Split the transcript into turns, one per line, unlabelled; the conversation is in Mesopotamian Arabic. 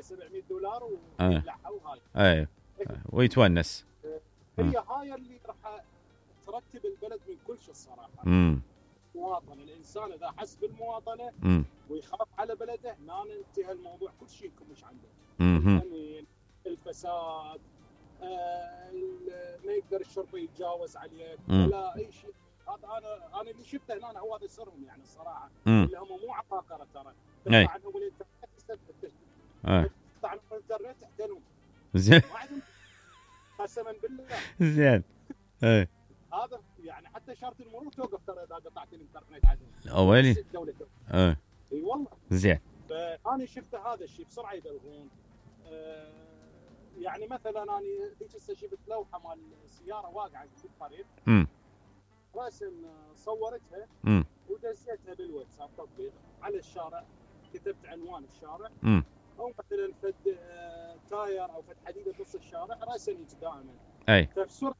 $700
آه.
ويبلعها وهاي.
اي ويتونس.
هي هاي اللي راح ترتب البلد من كل شيء الصراحه. المواطنه، الانسان اذا حس بالمواطنه ويخاف على بلده، هنا انتهى الموضوع، كل شيء مش عنده. الامن، الفساد، ما يقدر الشرطه يتجاوز عليك ولا اي شيء. هذا انا اللي شفته هنا هو هذا سرهم يعني الصراحه، اللي هم مو عباقره ترى. تقطع عنهم الانترنت، تقطع عنهم الانترنت احتلوا.
زين
ما عندهم قسما بالله.
زين اي
هذا يعني حتى اشاره المرور توقف ترى اذا قطعت الانترنت عندهم.
اولي
اي والله.
زين
فانا شفت هذا الشيء بسرعه يدلغون. يعني مثلا انا ذيك هسه شفت لوحه مال سياره واقعه في الطريق، راسا صورتها ودزيتها بالواتساب تطبيق على الشارع، كتبت عنوان الشارع او مثلا فد تاير او فد حديده بنص الشارع راسا يجي دائما.
اي
فبسرعه